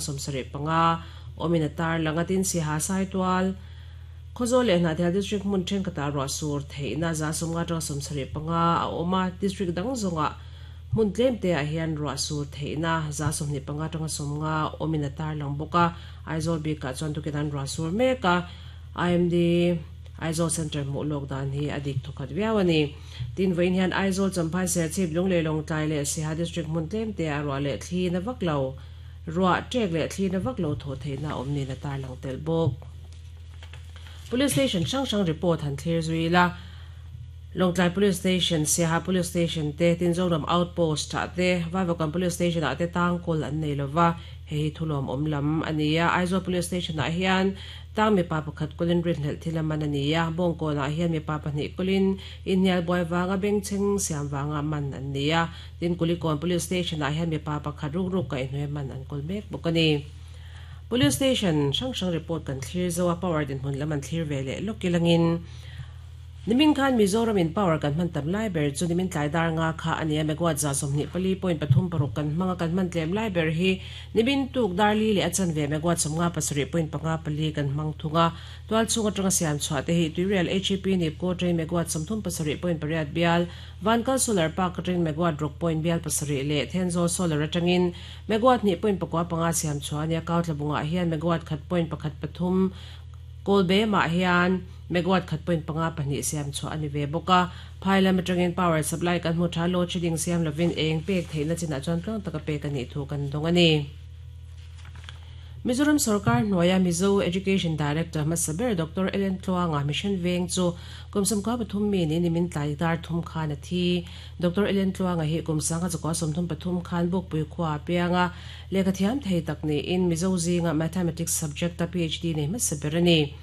75 awmin a tarlang a, tin Siaha Saitual, Khawzawl leh Hnahthial District hmun thenkhatah ruah sur theihna 150 atanga 75 a awm a, District dang zawngah hmun tlemte ah hian ruah sur theihna 25 atanga 50 awmin a tarlang bawk a, Aizawl bikah chuan tukin an ruah sur mek a, IMD Aizawl Centre hmuh lawk dan hi a dik thawkhat viau a ni. Tin, vawiin hian Aizawl, Champhai, Serchhip, Lunglei, Lawngtlai leh Siaha District hmun tlemte ah ruah leh thli na vak lo. Ruah ṭek leh thli na vak lo thawh theihna a awm niin a tarlang tel bawk. Police Station hrang hrang report han thlir zui ila, Lawngtlai Police Station, Siaha Police Station te, Tinzoram Outpost ah te, Vaivakawn Police Station ah te tang kawl an nei lova, hei hi thulawm awm lam a ni a. Aizawl Police Station ah hian tang mipa pakhat kawlin rinhlelh thil a man a ni a, Bawngkawn ah hian mipa pahnih kawlin inhnial buai vanga bengchheng siam vanga man an ni a. Tin, Kulikawn Police Station ah hian mipa pakhat rukruk kaihhnuai man an kawl mek bawk a ni. Police Station hrang hrang report kan thlir zo a, power dinhmun lam an thlir ve leh lawk ilangin nimin khan Mizoram in power kan hman tam lai ber chu nimin tlai dar nga kha a ni a, megawatt 24.36 kan hmang a, kan hman tlem lai ber hi nimin tuk dar li leh a chanve megawatt 57.54 kan hmang thung a. Tual chhung atanga siam chhuah te hi Tuirial HEP Nipco train megawatt 38.8 bial, Vankal Solar Park atangin megawatt ruk point bial pasarih leh Thenzawl Solar atangin megawatt hnih point pakua panga siam chhuah a ni a, Kauthla bungah hian megawatt khat point pakhat pathum, Kawlbemah hian megawatt khat point panga pahnih siam chhuah a ni ve bawk a. Phai lam atangin power supply kan hmu tha, load shedding siam lovin eng pek theihna chinah chuan tluang taka pek a nih thu kan dawng a ni. Mizoram sorkar hnuaia Mizo Education Director hmasa ber Doctor Ellen Tluanga Mission Veng chu kum 13 mi niin nimin tlai dar thum khan a thi. Doctor Ellen Tluanga hi kum 1933 khan Bukpui khua a piang a, lehkha thiam thei tak niin Mizo zinga Mathematics subject-a PhD nei hmasa ber a ni.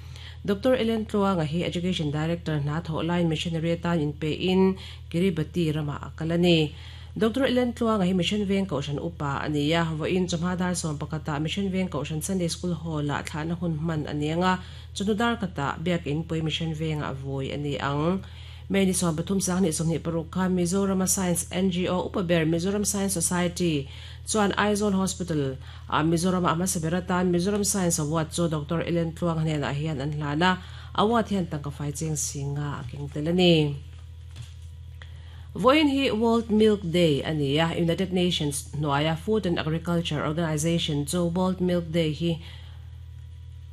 Doctor Ellen Tluanga hi Education Director hna thawh laiin missionary atan inpein Kiribati ramah a kal a ni. Doctor Ellen Tluanga hi Mission Veng Kohhran upa a ni a, vawiin chawhma dar 11 ah Mission Veng Kohhran Sunday School Hall-ah thlahna hun hman a ni ang a, chawhnu dar khatah Biakin Pui Mission Vengah vawi a ni ang. May ni 13 sang 26 khan Mizorama Science NGO upa ber Mizoram Science Society chuan Aizawl Hospital ah Mizorama a hmasa ber atan Mizoram Science Award chu Doctor Ellen Tluanga hnenah hian an hlan a, award hian tangka fai cheng singa a keng tel a ni. Vawiin hi World Milk Day a ni a, United Nations hnuaia Food and Agriculture Organization chu World Milk Day hi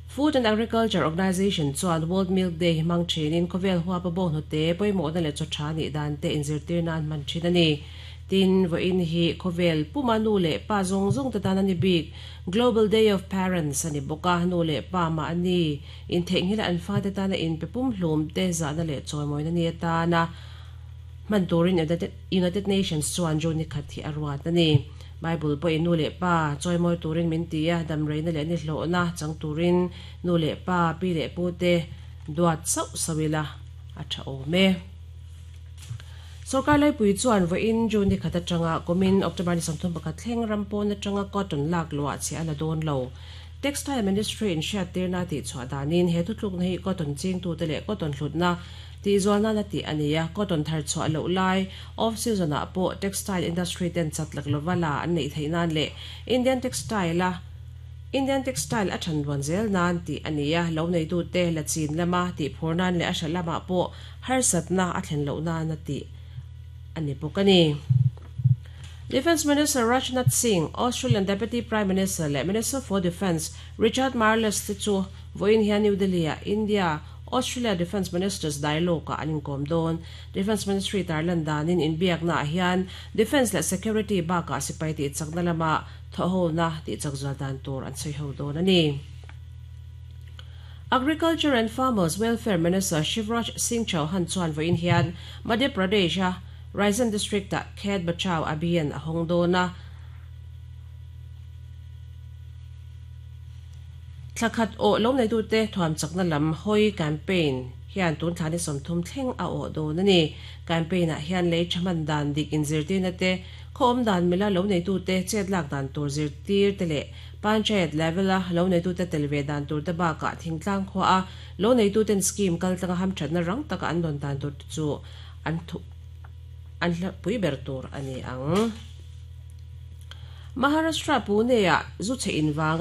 Food and Agriculture Organization chuan World Milk Day hi hmang thinin khawvel huapa bawnghnute pawimawhna leh chaw tha nih dan te inzirtir nan hman thin a ni. Tin, vawiin hi khawvel puma nu leh pa zawng zawng te tan a ni bik Global Day of Parents a ni bawk a, nu leh pa mahni intheihnghilh an fate tana inpe pumhlum te zahna leh chawimawina ni atana hman turin United Nations chuan June ni khat hi a ruat a ni. Bible pawhin nu leh pa chawimawi turin min ti a, damreina leh nihlawhna chang turin nu leh pa, pi leh pu te duat sauh sauh ila a tha awm e. Sorkar laipui chuan vawiin June ni khat atanga kumin October ni 31 thleng ram pawn atanga cotton lak luah chhiah a la dawn lo. Textile Ministry in hriattirna a tihchhuah danin he thutlukna hi cotton chingtute leh cotton hlutna tihzual nan a tih a ni a, cotton thar chhuah loh lai, off season ah pawh textile industry ten chat lak lova la an neih theih nan leh Indian textile a Indian textile a than ruan zel nan tih a ni a, lo neitute la chin lama tihphur nan leh a hra lamah pawh harsatna a thlen loh nan a tih a ni bawk a ni. Defence Minister Rajnath Singh, Australian Deputy Prime Minister leh Minister for Defence Richard Marles te chu vawiin hian New Delhi-ah India, Australia Defence Ministers Dialogue-ah an inkawm dawn. Defence Ministry tarlan danin inbiaknaah hian Defence leh Security bakah sipai tihchakna lama thawhhona tihchak zual dan tur an sawi ho dawn a ni. Agriculture and Farmers Welfare Minister Shivraj Singh Chauhan chuan vawiin hian Madhya Pradesh-a Raisen District-ah Khet Bachao Abhiyan a hawng dawn a, thla khat awh lo neitute thuam chakna lam hawi campaign hian tun thla ni 30 thleng a awh dawn a ni. Campaign-ah hian lei tha hman dan dik inzirtirna te, khaw awm dan mila lo neitute chet lak dan tur zirtir te leh Panchayat level-a lo neitute tel ve dan tur te bakah thingtlang khuaa lo neituten scheme kaltlanga hamthatna rang taka an dawn dan tur te chu an an hlapui ber tur a ni ang. Maharashtra Pune-ah zu chhe in vanga.